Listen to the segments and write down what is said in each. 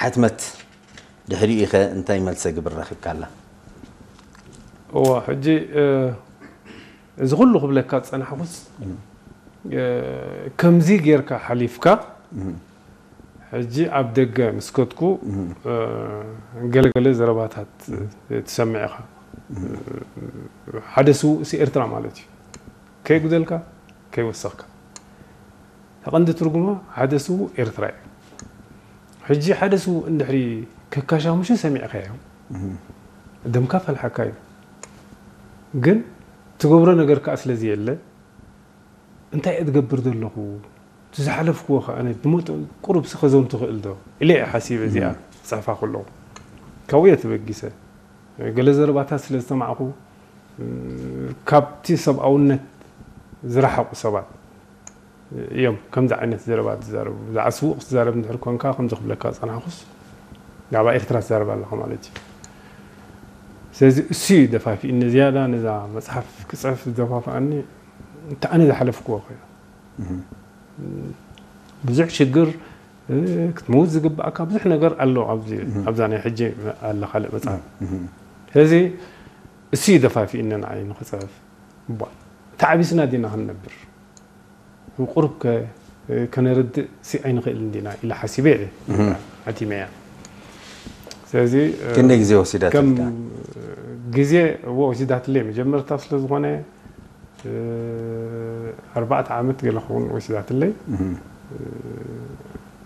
ሕትመት ድሕሪኡ ኢኸ እንታይ መልሰ ግብር ረኺብካ ኣላ? እዋ ሕጂ እዚ ኩሉ ክብለካ ዝፀናሕኩስ ከምዚ ጌርካ ሓሊፍካ ሕጂ ኣብ ደገ ምስ ከድኩ ገለገለ ዘረባታት ትሰምዕ ኢኻ። ሓደ ስውእሲ ኤርትራ ማለት እዩ። ከይጉደልካ ከይወሰኽካ። ተቐንዲ ትርጉማ ሓደ ስውእ ኤርትራ እዩ። ሕጂ ሓደ ስውእ እንድሕሪ ከካሻሙሹ ሰሚዕካዮ ደምካ ፈልሓካ እዩ። ግን ትገብሮ ነገር ከዓ ስለዚ የለ እንታይ እየ ትገብር ዘለኹ? እቲ ዝሓለፍክዎ ከኣ ኣነ ብመጠን ቁሩብ ስኸዞም ትኽእል ዶ ኢለ እየ ሓሲበ እዚኣ ክጽሕፋ ከለኹ። ካብኡ እየ ተበጊሰ። ገለ ዘረባታት ስለ ዝሰማዕኹ ካብቲ ሰብኣውነት ዝረሓቑ ሰባት እዮም ከምዚ ዓይነት ዘረባ ዝዛረቡ። ብዛዕባ ስዉእ ክትዛረብ እንድሕር ኮንካ ከምዚ ክብለካ ዝጸናሕኩስ ብዛዕባ ኤርትራ ትዛረብ ኣለኻ ማለት እዩ። ስለዚ እሱ እዩ ደፋፊእኒ ዝያዳ ነዛ መጽሓፍ ክጽሕፍ ዝደፋፍኣኒ። እቲ ኣነ ዝሓለፍክዎ ኮይኑ ብዙሕ ሽግር ክትመውት ዝግባእካ ብዙሕ ነገር ኣሎ ኣብዚ ኣብዛ ናይ ሕጂ ኣላ ካልእ መጽሓፍ። ስለዚ እሱ እዩ ደፋፊእኒ ንዓይ ንኽጽሕፍ። እባ ተዓቢስና ዲና ክንነብር? ቁሩብ ከ ከነርድእ ሲ ኣይንኽእልን ዲና ኢለ ሓሲበ እየ ኣቲመያ። ስለዚ ክንደይ ግዜ ወሲዳትልካ? ግዜ እዎ ወሲዳትለይ መጀመርታ ስለ ዝኾነ ኣርባዕተ ዓመት ገለ ክኸውን ወሲዳትለይ።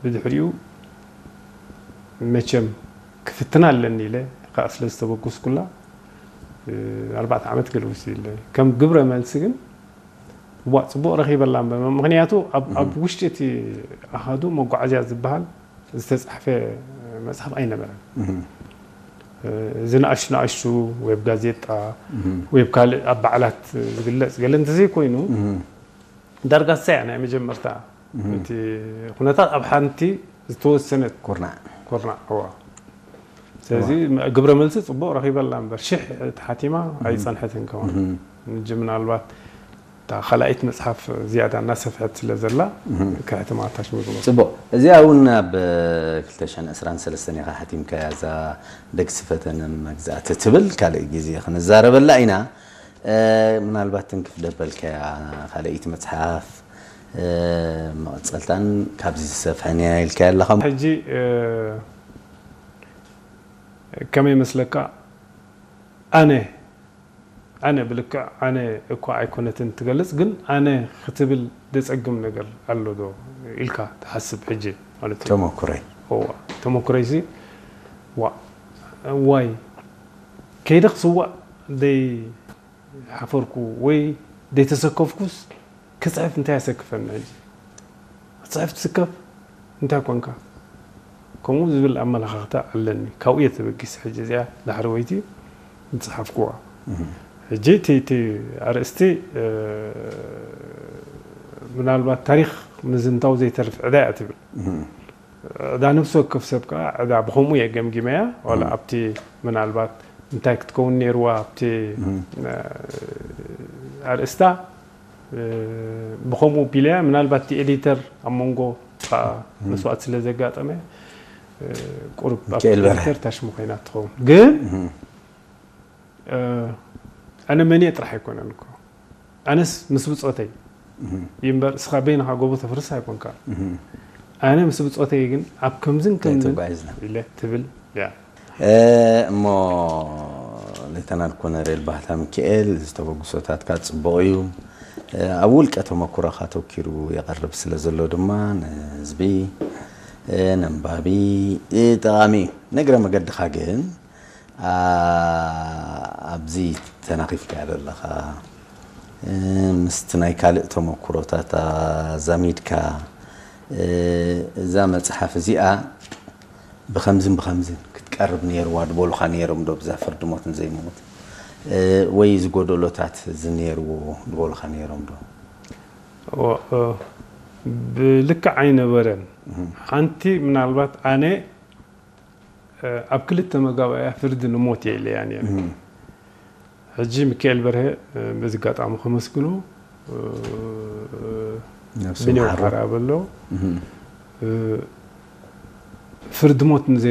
ብድሕሪኡ መቸም ክፍትና ኣለኒ ኢለ ከዓ ስለ ዝተበገስኩላ ኣርባዕተ ዓመት ገለ ወሲድለይ። ከም ግብረ መልሲ ግን እዋ ፅቡቅ ረኺበላ እምበር ምክንያቱ ኣብ ውሽጢ እቲ ኣሃዱ መጓዓዝያ ዝበሃል ዝተፃሕፈ መፅሓፍ ኣይነበረን። ዝንኣሽቱ ንኣሽቱ ወይ ብ ጋዜጣ ወይ ብ ካልእ ኣብ በዓላት ዝግለፅ ገለ እንተዘይኮይኑ ዳርጋ ሳያ ናይ መጀመርታ እቲ ኩነታት ኣብ ሓንቲ ዝተወሰነት ኩርናዕ ኩርናዕ እዋ ስለዚ ግብረ መልሲ ፅቡቅ ረኺበላ እምበር ሽሕ ተሓቲማ ኣይፀንሐትን ከውን ምናልባት እታ ካልኣይት መፅሓፍ ዝያዳ እናሰፍሐት ስለ ዘላ ከሕትማ ታሽሙ ዝመ ፅቡቅ እዚኣ እውን ኣብ ክልተ ሽሕን ዕስራን ሰለስተን ኢኻ ሓቲምካያ እዛ ደግሲ ፈተነ መግዛእቲ ትብል ካልእ ግዜ ክንዛረበላ ኢና ምናልባት ትንክፍ ደበልካያ ካልኣይቲ መፅሓፍ መቐፀልታን ካብዚ ዝሰፍሐን እያ ኢልካያ ኣለኻ ሕጂ ከመይ መስለካ ኣነ ኣነ ብልክዕ ኣነ እኳ ኣይኮነትን ትገልጽ ግን ኣነ ክትብል ደጸግም ነገር ኣሎ ዶ ኢልካ ትሓስብ ሕጂ ማለት እዩ ተመኩረይ እዋ ተመኩረይ ሲ ዋ ዋይ ከይደ ክስዋእ ደይ ሓፈርኩ ወይ ደይ ተሰከፍኩስ ክጽሕፍ እንታይ ያሰክፈኒ ሕጂ ክጽሕፍ ትስከፍ እንታይ ኮንካ ከምኡ ዝብል ኣመለኻኽታ ኣለኒ ካብኡ እየ ተበጊስ ሕጂ እዚኣ ዳሕሪ ወይቲ ዝጸሓፍኩዋ ሕጂ እቲ እቲ ኣርእስቲ ምናልባት ታሪክ ምዝንታው ዘይተርፍ ዕዳ እያ ትብል ዕዳ ነፍሲ ወከፍ ሰብ ከዓ ዕዳ ብከምኡ እየ ገምጊመያ ዋላ ኣብቲ ምናልባት እንታይ ክትከውን ነይርዋ ኣብቲ ኣርእስታ ብከምኡ ቢለያ ምናልባት እቲ ኤዲተር ኣብ መንጎ ከዓ መስዋእት ስለ ዘጋጠመ ቁሩብ ኣብ ሚካኤል በርሀ። ኤዲተር ታሽሙ ኮይና ትኸውን ግን ኣነ መን እየ ጥራሕ ኣይኮነን እኮ ኣነስ ምስ ብፆተይ ይምበር እስኻ በይንኻ ጎቦ ተፍርስ ኣይኮንካ ኣነ ምስ ብፆተይ ግን ኣብ ከምዝን ከምዝን ተጓይዝና ኢለ ትብል እያ እሞ ሌተናል ኮነሬል ባህታ ሚካኤል ዝተበግሶታትካ ፅቡቕ እዩ ኣብ ውልቀ ተመኩሮኻ ተኪሩ የቐርብ ስለ ዘሎ ድማ ንህዝቢ ነንባቢ ጠቓሚ እዩ ነግረ መገድኻ ግን ኣብዚ ተናኺፍካያ ዘለኻ ምስቲ ናይ ካልእ ተመኩሮታት ኣዛሚድካ እዛ መፅሓፍ እዚኣ ብኸምዝን ብኸምዝን ክትቀርብ ነይርዋ ድበሉኻ ነይሮም ዶ ብዛ ፍርዲ ሞት ንዘይምውት ወይ ዝጎደሎታት እዚ ነይርዎ ድበሉኻ ነይሮም ዶ ብልክዕ ኣይነበረን ሓንቲ ምናልባት ኣነ ኣብ ክልተ መጋባእያ ፍርዲ ንሞት እየ ኢለያ ነይረ ሕጂ ሚካኤል በርሀ በዚ ኣጋጣሚ ከመስግኖ ነብሱ ብኔው ይምሓሮ። ሓራ በሎ ፍርዲ ሞት ንዘይ